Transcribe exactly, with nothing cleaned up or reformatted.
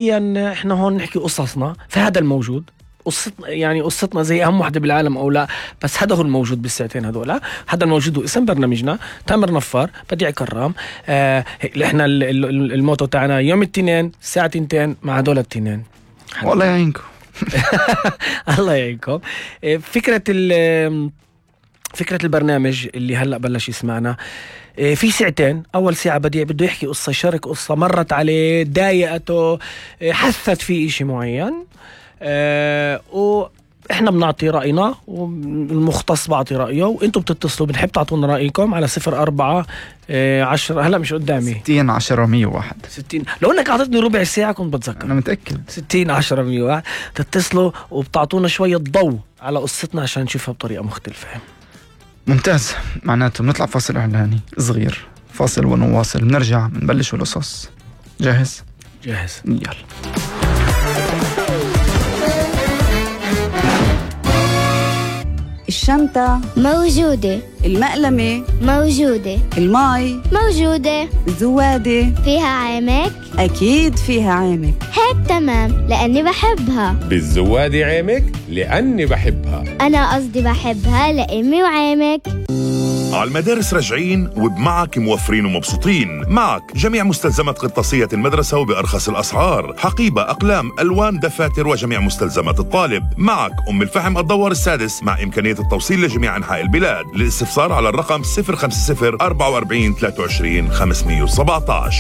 يعني احنا هون نحكي قصصنا، فهذا الموجود قصتنا، يعني قصتنا زي اهم وحده بالعالم او لا، بس هذا هو الموجود بالساعتين هذولا. هذا الموجود هو اسم برنامجنا تامر نفار بديع كرام. آه احنا الموتو تاعنا يوم الاثنين الساعه تنتين مع هذول الاثنين. والله يعينكم. الله يعينكم. فكره فكره البرنامج اللي هلا بلش يسمعنا في ساعتين. أول ساعة بديع بده يحكي قصة، يشارك قصة مرت عليه، ضايقته، حثت فيه إشي معين، أه وإحنا بنعطي رأينا والمختص بعطي رأيه، وإنتوا بتتصلوا بنحب تعطونا رأيكم على صفر أربعة عشرة. هلا مش قدامي ستين عشرة مية واحد ستين. لو إنك أعطتني ربع ساعة كنت بتذكر. أنا متأكد. ستين عشرة مية واحد تتصلوا وبتعطونا شوية ضوء على قصتنا عشان نشوفها بطريقة مختلفة. ممتاز. معناته بنطلع فاصل إعلاني صغير، فاصل ونواصل، بنرجع بنبلش القصص. جاهز؟ جاهز. يلا. الشنطة موجودة، المقلمة موجودة، الماي موجودة، الزوادة فيها عامك؟ أكيد فيها عامك. هيك تمام لأني بحبها. بالزوادة عامك لأني بحبها. أنا قصدي بحبها لأمي وعامك. على المدارس راجعين وبمعك موفرين ومبسوطين. معك جميع مستلزمات قرطاسية المدرسة وبأرخص الأسعار، حقيبة، أقلام، ألوان، دفاتر وجميع مستلزمات الطالب. معك أم الفحم الدوار السادس مع إمكانية التوصيل لجميع أنحاء البلاد. للاستفسار على الرقم صفر خمسة صفر أربعة وأربعين ثلاثة وعشرين خمسمية وسبعطعش.